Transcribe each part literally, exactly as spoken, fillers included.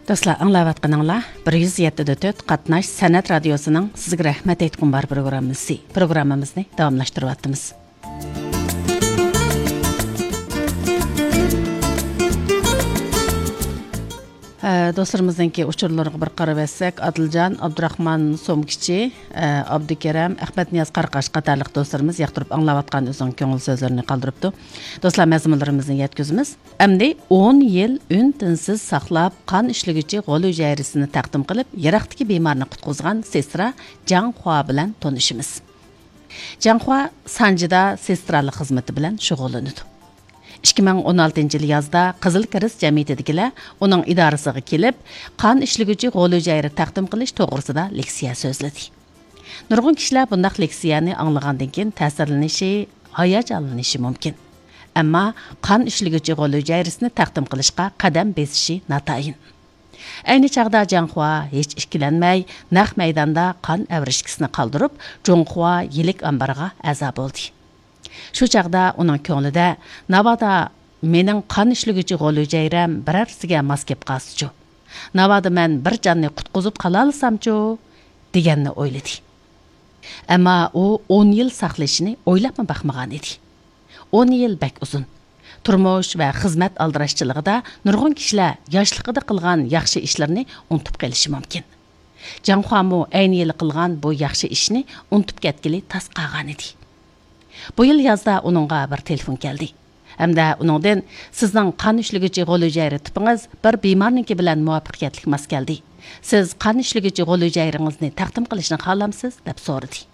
دوستلار، ئاڭلاۋاتقىنىڭلار بىر يۈز يەتتە دە تۆت قاتناش سەنئەت رادىيوسىنىڭ سىزگە رەھمەت ئېيتقۇم بار پروگراممىسى. پروگراممىمىزنى داۋاملاشتۇرۇۋاتىمىز. ھە، دوستلىرىمىزنىڭكى ئۇچۇرلىرىغا بىر قاراۋەتسەك، ئادىلجان، ئابدۇراخمان سومكىچى، ئە، ئابدۇكېرەم، ئەخمەتنىياز قاراقاش قاتارلىق دوستلىرىمىز ياقتۇرۇپ ئاڭلاۋاتقان ئۆزىنىڭ كۆڭۈل سۆزلىرىنى قالدۇرۇپتۇ. دوستلار، مەزمۇنلىرىمىزنى يەتكۈزىمىز. ئەمدى ئون يىل ئۈن-تىنسىز ساقلاپ، قان ئىشلىگۈچى غول ھۈجەيرىسىنى تەقدىم قىلىپ، يىراقتىكى بىمارنى قۇتقۇزغان سېسترا جاڭ خۇا بىلەن تونۇشىمىز. جاڭ خۇا سانجىدا سېسترالىق خىزمىتى بىلەن شۇغۇللىنىدۇ. ئىككى مىڭ ئون ئالتىنچى يىل يازدا قىزىل كىرېست جەمئىيىتىدىكىلەر ئۇنىڭ ئىدارىسىغا كېلىپ، قان ئىشلىگۈچى غول ھۈجەيرە تەقدىم قىلىش توغرىسىدا لېكسىيە سۆزلىدى. نۇرغۇن كىشىلەر بۇنداق لېكسىيەنى ئاڭلىغاندىن كېيىن تەسىرلىنىشى، ھاياجانلىنىشى مۇمكىن. ئەمما قان ئىشلىگۈچى غول ھۈجەيرىسىنى تەقدىم قىلىشقا قەدەم بېسىشى ناتايىن. ئەينى چاغدا جاڭخۇا ھېچ ئىككىلەنمەي، نەق مەيداندا قان ئەۋرىشكىسىنى قالدۇرۇپ، جۇڭخۇا يىلىك ئامبىرىغا ئەزا بولدى. شۇ چاغدا ئۇنىڭ كۆڭلىدە، «ناۋادا مېنىڭ قان ئىشلىگۈچى غول ھۈجەيرەم بىرەرسىگە ماس كەپ قالسىچۇ؟ ناۋادا مەن بىر جاننى قۇتقۇزۇپ قالالىسامچۇ؟» دېگەننى ئويلىدى. ئەمما ئۇ ئون يىل ساقلىشىنى ئويلاپمۇ باقمىغان ئىدى. ئون يىل بەك ئۇزۇن. تۇرمۇش ۋە خىزمەت ئالدىراشچىلىقىدا نۇرغۇن كىشىلەر ياشلىقىدا قىلغان ياخشى ئىشلىرىنى ئۇنتۇپ قېلىشى مۇمكىن. جاڭخۇامۇ ئەينى يىلى قىلغان بۇ ياخشى ئىشنى ئۇنتۇپ كەتكىلى تاس قالغانىدى. بۇ يىل يازدا ئۇنىڭغا بىر تېلېفون كەلدى ھەمدە ئۇنىڭدىن، «سىزنىڭ قان ئىشلىگۈچى غول ھۈجەيرە تىپىڭىز بىر بىمارنىڭكى بىلەن مۇۋەپپەقىيەتلىك ماس كەلدى. سىز قان ئىشلىگۈچى غول ھۈجەيرىڭىزنى تەقدىم قىلىشنى خالامسىز؟» دەپ سورىدى.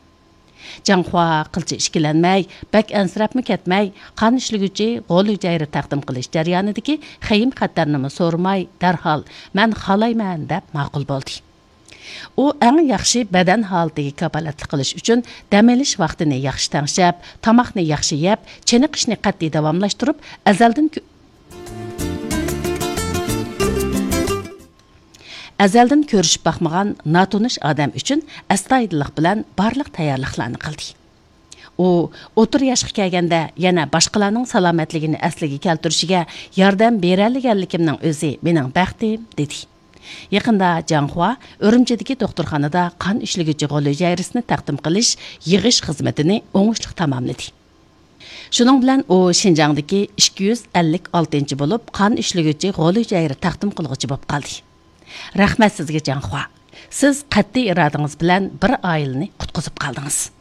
جاڭخۇا قىلچە ئىككىلەنمەي، بەك ئەنسىرەپمۇ كەتمەي، قان ئىشلىگۈچى غول ھۈجەيرە تەقدىم قىلىش جەريانىدىكى خېيىم-خەتەرنىمۇ سورىماي، دەرھال، «مەن خالايمەن» دەپ ماقۇل بولدى. ئۇ ئەڭ ياخشى بەدەن ھالىتىگە كاپالەتلىك قىلىش ئۈچۈن دەم ئېلىش ۋاقتىنى ياخشى تەڭشەپ، تاماقنى ياخشى يەپ، چېنىقىشنى قەتئىي داۋاملاشتۇرۇپ، ئەزەلدىن كۆ-، ئەزەلدىن كۆرۈشۈپ باقمىغان ناتونۇش ئادەم ئۈچۈن ئەستايىدىللىق بىلەن بارلىق تەييارلىقلارنى قىلدى. ئۇ ئوتتۇرا ياشقا كەلگەندە يەنە باشقىلارنىڭ سالامەتلىكىنى ئەسلىگە كەلتۈرۈشىگە ياردەم بېرەلىگەنلىكىمنىڭ ئۆزى مېنىڭ بەختىم، دېدى. يېقىندا جاڭخۇا ئۈرۈمچىدىكى دوختۇرخانىدا قان ئىشلىگۈچى غول ھۈجەيرىسىنى تەقدىم قىلىش، يىغىش خىزمىتىنى ئوڭۇشلۇق تاماملىدى. شۇنىڭ بىلەن ئۇ شىنجاڭدىكى ئىككى يۈز ئەللىك ئالتىنچى بولۇپ قان ئىشلىگۈچى غول ھۈجەيرە تەقدىم قىلغۇچى بولۇپ قالدى. رەھمەت سىزگە، جاڭخۇا. سىز قەتئىي ئىرادىڭىز بىلەن بىر ئائىلىنى قۇتقۇزۇپ قالدىڭىز.